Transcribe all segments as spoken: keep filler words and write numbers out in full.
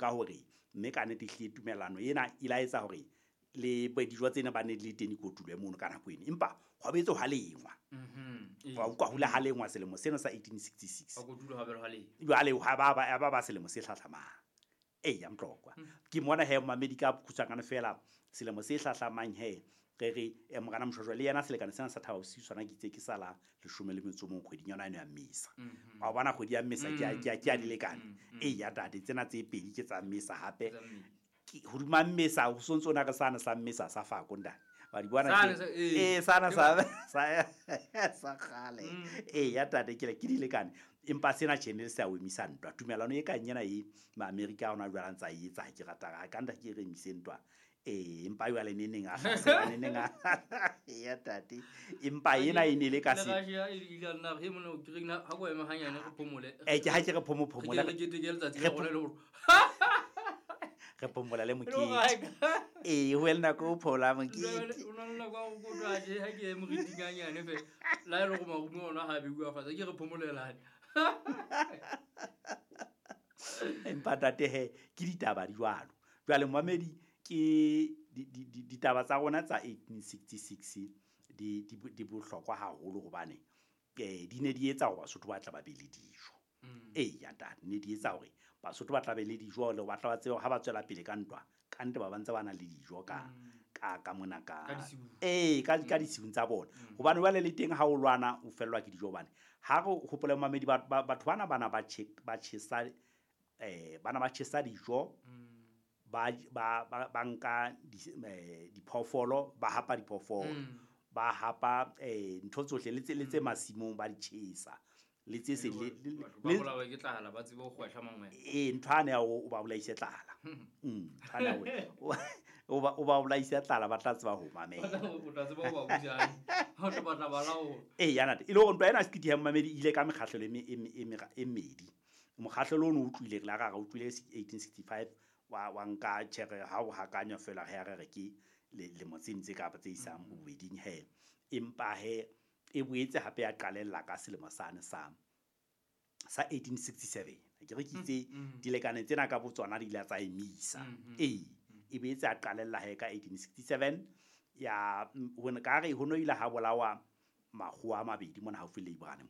nka hore mme ka nnete ehlile tumellano ena e la etsa hore le dijo tsena ba ne le teng dikotulwe mono ka nako eno, empa hwa boetse hwa lengwa. Mhm. Wa utlwa hula ha lengwa selemo sena sa eighteen sixty-six. Wa kotulwa ha belo ha lengwa. Jwale ha ba ba ba ba selemo se hlahlamang. Eya Mtlokwa. Ke mona he mamedi ka khutshwanyane fela selemo se hlahlamang he re re eh, Morena Moshoeshoe le yena selekane sena sa Thaba Bosiu sona ke itse ke sala leshome le metso mong kgweding yona eno ya Mmesa. Wa bona kgwedi ya Mmesa ke a ke a ke a dilekane. Eya ntate tsena tse pedi ke tsa Mmesa hape. Tsa Mmesa. Ke hodima Mmesa ho sontso na re sana sa Mmesa sa Fako ntate. Wa di bona Sane ke sa- ee. Eh, sana sa sa sa kgale. Eya ntate ke le ke dilekane. Empa sena tjhe ne le se a emisa ntwa. Tumellano e kang ena e ma-Amerika a hona jwale a ntsa e etsa ke rata ka ka nta ke re emise ntwa. Eh, empa jwale neneng a hlasela neneng a eya ntate. Empa ena e ne le ka Le se Russia e ile ya nna re mona o kere na ha ko ema hanyane re phomole. Eh, ke ha ke re phomo phomola. Re ke re keteke letsatsi Re la rona le hore. Re phomola le E le mokete. hore ha e ka- Ee, ho le nako o phola mokete. O na le nako ya ho kotwa tje, ha ke ye moriting hanyane fela. Le ha e le hore marumo ona ha a beuwa fatshe, ke re phomolelane. Empa ntate he, ke ditaba di jwalo. Jwale momamedi ke di, di, di, ditaba tsa rona tsa eighteen sixty-six di, di, di bohlokwa haholo hobane, eh, di ne di etsa hore Basotho ba tla ba be le dijo. Eya ntate, ne di etsa hore Basotho ba tla be le dijo le ba tla ba tsebe hore ha ba tswela pele ka ntwa, ka nnete ba ba ntse ba na le dijo ka, ka, ka mona ka, Ka disiung. Ee, ka, ka disiung tsa bona. Hobane jwale le teng ha o lwana o fellwa ke dijo hobane ha re hopole mamedi ba, ba, batho bana bana ba tjhe, ba tjhesa, eh, bana ba tjhesa dijo, ba, ba, ba, ba nka di, eh, diphoofolo, ba hapa diphoofolo, ba hapa, eh, ntho tsohle le tse, le tse masimong ba di tjhesa. Le tse se le, le, Batho ba le bolawa ke tlala, ba tsebe ho kgwehla mangwele. Ee, ntho ane ya hore o ba bolaise tlala. Mm, ntho ane ya hore o ba, o ba bolaise tlala, ba tla tseba ho mamela. O tla tseba ho ba busa. Ha o tlo batla ba laola. Ee, ya ntate. E le hore ntwa ena Sekiti ya Momamedi e ile ka mekgahlelo e me, e me, e me, e mmedi. Mokgahlelo ono o utlwile, re la ra re utlwile eighteen sixty-five, wa, wa nka tjhere ha o hakanywa fela he re re ke le, lemo tse ntse kapa tse isang bobeding he. Empa he, e boetse hape ya qalella ka selemo sane sa, sa eighteen sixty-seven. Ke re ke itse dilekane tsena ka botsona di ile tsa emisa. Ee, e boetse ya qalella he ka eighteen sixty-seven, ya, mm, ho ne ka re ho no ile ha bolawa makgowa a mabedi mona haufi le Ibrahim.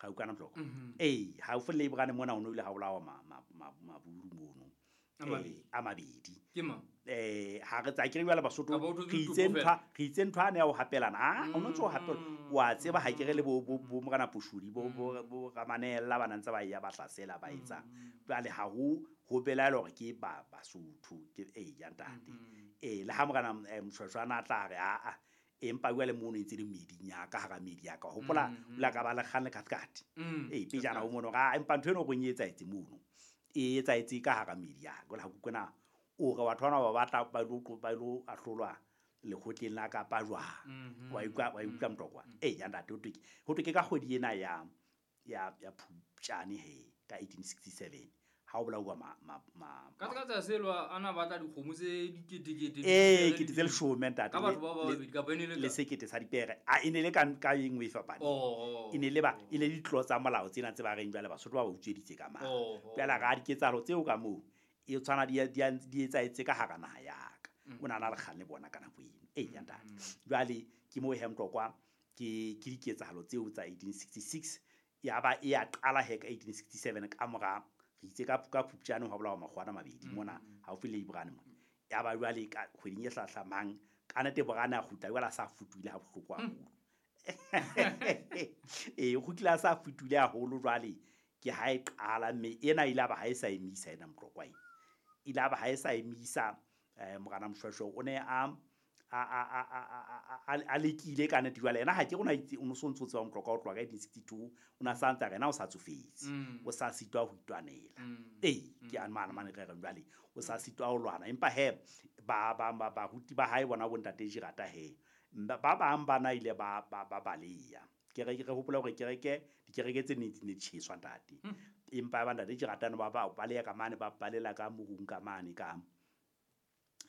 Ga utlwana Mtloko? Ee, haufi le Ibrahim mona ho no ile ha bolawa ma, ma, ma, maburu mono. A mabedi. Eh, a mabedi. Ke mang? Eh, ha re tsa ke re jwale Basotho, Kapa o thotse re itse ditopo ntho, fela? re itse ntho ane ya ho hapelana. Ah, o no ntso o hapela. Wa tseba ha ke re le bo, bo, bo Morena Poshodi, bo, bo, bo Ramanella ba na ntse ba ya ba hlasela ba etsa. Jwale ha ho, ho belaelwa hore ke ba Basotho, ke, eh, ya ntate. Eh, le ha Morena, eh, Moshoeshoe a na tla re, ah, ah, empa jwale mono e ntse le meeding ya ka, hara meedi ya ka. Hopola, o la ka ba le kgang le Cathcart. Eh, pejana ho mono, ah, empa ntho eno reng e etsahetse mono. E etsahetse ka hara meedi ya ka. Jwale ha ke utlwe na, o re batho bana ba batla ba ilo, ba ilo ahlolwa lekgotleng la Kapa jwang. Wa utlwa, wa utlwa Mtlokwa? Eh, ya ntate, ho thwe ke, ho thwe ke ka kgwedi ena ya, ya, ya Phupjane he, ka eighteen sixty-seven, ha o bolauwa ma, ma, ma, Ka tsa tsa selo a na batla dikgomo tse diketekete, Eh, dipere kete tse leshome, ntate, Ka batho ba ba le, babedi, kapa e ne le le ka? sekete sa dipere. Ah, e ne le ka, ka e nngwe e fapaneng. Oh, oh, E ne le ba, oh. e le ditlo tsa molao tsena tse ba reng jwale Basotho ba ba utsweditse ka mang. Oh, oh. Jwale ra diketsahalo tseo ka moo, e tshwana di, di, di etsahetse ka hara naha ya ka. O na na le kgang le bona ka nako eno. Eh, ya ntate. Jwale ke moo he Mtlokwa, ke, ke diketsahalo tseo tsa eighteen sixty-six, ya ba e ya qala he ka eighteen sixty-seven ka mora, re itse ka, ka Phupjane ho bolawa makgowa a mabedi mona haufi le Ibrahim mona. Ya ba jwale ka kgweding e hlahlamang, ka nnete Borane a kgutla jwale a sa futuhile ha bohloko haholo. Ee, o kgutlile a sa futuhile haholo jwale ke ha e qala, mme ena ile ba ha e sa emisa ena Mtlokwa ena. Ile ba ha e sa emisa, eh, Morena Moshoeshoe o ne a, a, a, a, a, a, a, a lekile ka nnete jwale. Yena ha ke rona itse, o no so ntso tseba Mtlokwa ho tloha ka eighteen sixty-two, o na sa ntse a re yena o sa tsofetse, Mm. o sa sitwa ho itwanela. Mm. Ee, ke a mane mane re reng jwale, o sa sitwa ho lwana. Empa he, ba, ba, ba, baruti ba hae bona bo ntate Jirata he, ba, ba bang ba na ile ba, ba, ba baleya. Kereke, re hopola hore kereke, dikereke tse neng di ne di tjheswa ntate. Mm. Empa ba ntate Jirata no ba, ba baleya ka mane, ba balela ka morung ka mane ka,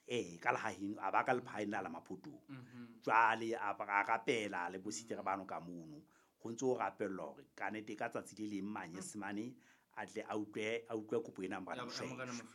eh, ka lehaheng, a ba ka lephaheng la la Maphotong. Mm-hmm. Jwale a ba, a rapela le bositere bano ka mono. Ho ntso ho rapellwa hore ka nnete ka tsatsi le leng Manyesemane a tle a utlwe, a utlwe kopo ena ya Morena Ya, ya Moshoeshoe. Morena Moshoeshoe.